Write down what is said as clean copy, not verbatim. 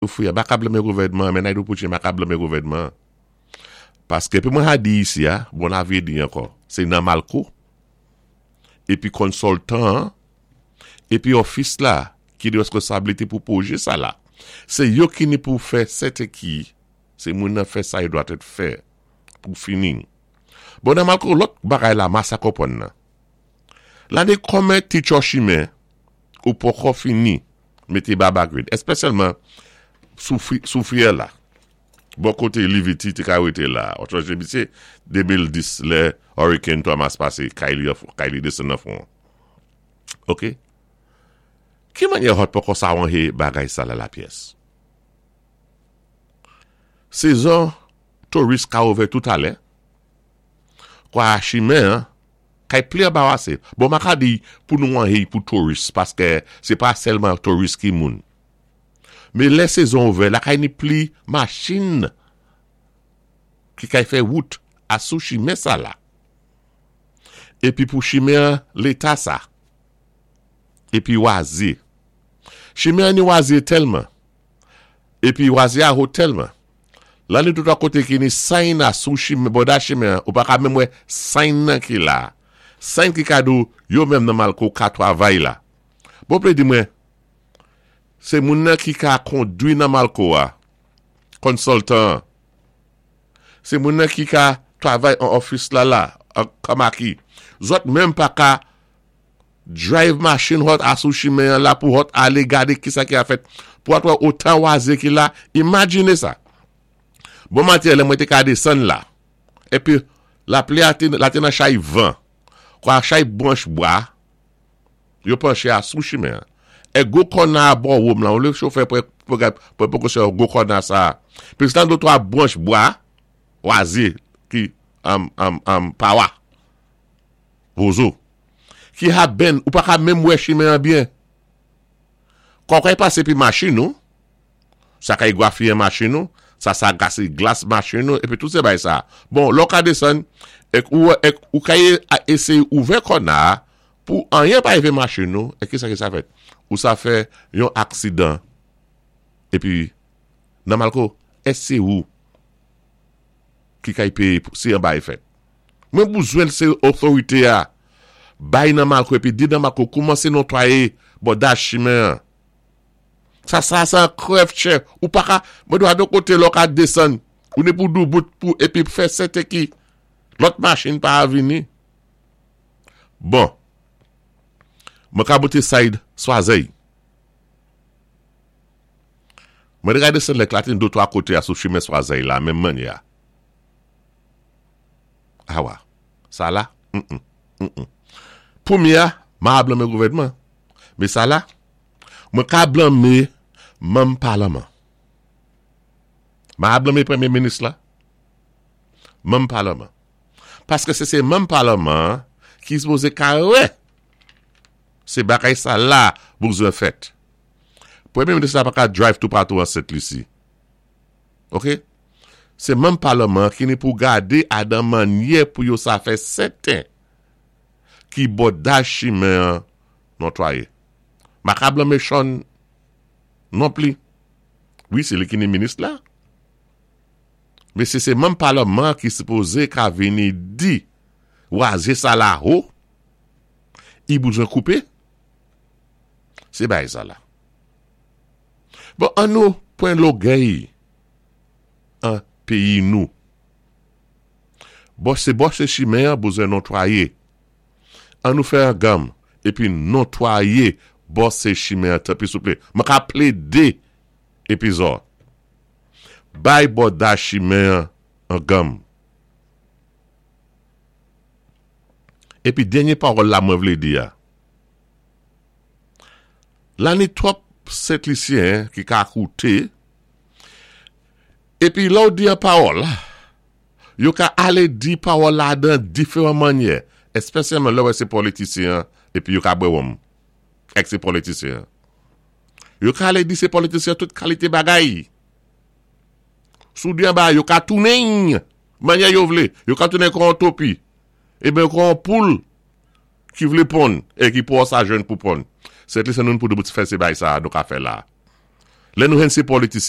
Soufri a, m pa ka blanmé gouvèdman an, men Naidoo Poutine m pa ka blanmé gouvèdman an. Paské pi mwen ha di isi a, bon la vye di ankò, sé nan Malko, épi konsoltan an, épi òfis la ki ni reskonsablité pou pwojé sa la. Sé yo ki ni pou fè sèten ki sé moun nan fè sa yo dwa tèt fè pou fini. Bon nan Malko lòt bagay la ma sa konpwann nan. La ni kòmen ti tchò chimen ou pokò fini mete baba grid espesyalman sou friyè la bò kote Livity te ka rete la ou sonje misye 2010 lè Hurricane Thomas pase kay li kay li desann nan fon an ok ki manyè hot poko sa wanhe bagay sa la lapyès sezon touris ka ouvè tout alè kwa chimen an Kay pli anbarase. Bon ma ka di pou nou anhey pou touris paske se pa selman touris ki moun. Men lè sezon ouvè lakay ni pli machin ki kay fè wout a sou chimen sa la. Epi pou chimen an leta sa. Epi waze. Chimen an ni waze telman. Epi waze a ho tèlman. Lan li tout a kote ki ni sign a sou chimen, bòda chimen an, ou pa ka menm wè sign nan ki la. Sign ki ka di w yo menm nan Malko ka twavay la. Bon ple di mwen, se moun nan ki ka kondwi nan Malko a, consultant an. Se moun nan ki ka twavay an office la la, an Kamaki. Zòt menm pa ka Drive machin hot a sou chimen an la pou hot ale gade kisa ki a fèt pou at wè otan waze ki la imajine sa bon maten lè mwen te ka desann la epi lapli a te la te nan chay van kwa chay branch bwa yo panche a sou chimen an e gwo kòna a bò wom lan ou le chofè pran pran prekosyon gwo kòna sa plis lan de twa branch bwa waze ki am am am pawa Wozo. Ki ha benn ou pa ka menm wè chimen an byen. Kòkòy pase pi machin ou, sa ka egwafiyen machin ou, sa sa gase glas machin ou epi tout se bay sa. Bon, lè w ka desann, ek ou wè ek ou ka eseye ouvè kòna a pou anyen pa rive machin ou, e kisa ki sa fèt? Ou sa fè yon aksidan epi nan malko, èske se ou ki kay peye pou si anba e fèt. Mwen bouzwen se otorite a bay nan malko epi di nan malko koumanse notwaye bòdaj chimen an. Sa sa sa krèv chè ou pa ka mwen dwa don kote lè w ka desann ou ni pou doubout pou epi fè sèten ki lòt machin pa vini. Bon mwen ka bote said swazèy. Mwen te ka desann lè klatin do 3 kote a sou chimen Swazèy la menm mannyè a. Awa. Sa la? Humm. Humm. Premye a, ma a blanme gouvènman. Men sa la? Mwen ka blanme manm palaman. Ma a blanme premye minis la. Manm palaman. Paske se se manm palaman ki sipoze ka wè se bagay sa la bouzwen fèt. Premye minis la pa ka drive toupatou an Sent Lisi. Ok. Se manm palman an ki ni pou gade adan mannyè pou yo sa fè sèten ki bòdaj chimen an notwaye. Maka blanme Sean non pli. Wi se li ki ni minis la. Men se se manm palman an ki sipoze ka vini di waze sa la ho i bouzwen koupe. Se bay sa la. Bon an nou pwen logèy an peyi nou. Bon se bò se chimen an bouzen notwaye. An nou fè an ganm epi notwaye bò se chimen an tanpri souple. Mwen ka plede epi zò. Bay bòda chimen an an ganm. Epi dènye pawòl la mwen vle di a. La ni twòp sentlisyen ki ka koute, epi lè w di yon pawòl, yo ka ale di pawòl la dan diferan mannyè, espesyalman lè w wè se politisyen an epi yo ka bwè wonm èk se politisyen an. Yo ka ale di se politisyen an tout kalite bagay. Si w di yon bagay, yo ka tounen l mannyè yo vle. Yo ka tounen kon yon topi, eben kon yon poul. Ki vle ponn e ki pou sa jwenn pou ponn. Sent li se noun pou nou fè se bay sa a nou ka fè la. Lè nou jwenn sé politisyen.